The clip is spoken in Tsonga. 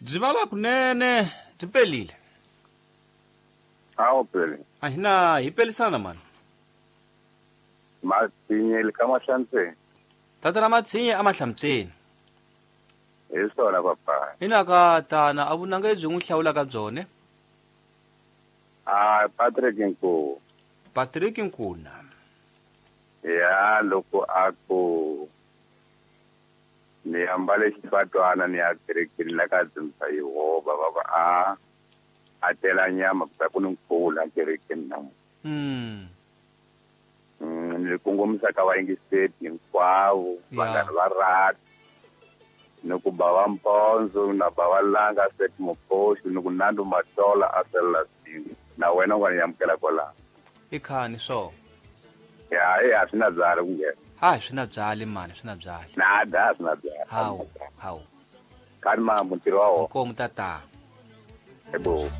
Byi vala kunene byi pelile. Awu pele. A hi na hi pelisana mani. Matshinyeli ka Mahlantseni. Tatana Matshinye a Mahlamtseni. Hi swona papa. Ina ka tana a vunanga lebyi n'wi hlawulaka byone. Ah Patrick Nkuwa. Patrick Nkuna. Ya loko a ku ni ambale xifatwana ni ya kerekeni la ka dzunisa Yehovha va ku a a tela nyama ku ta ku ni nkhuvo la kerekeni namuntlha. Ni kongomisa ka vayingiseri hinkwavo vanghana va rati ni ku ba va mpondzo na ba va langa set mukhosi ni ku nando matola a selela swin'we na wena u nga ni amukela kwalaho. I khani swo. Ya e a swi na byali ku nghena. Ha swi na byali mani swi na byali. Nada swi na byali. Hawu hawu. Khani mambo ntirho wa wona. Inkomu tata. Ebo.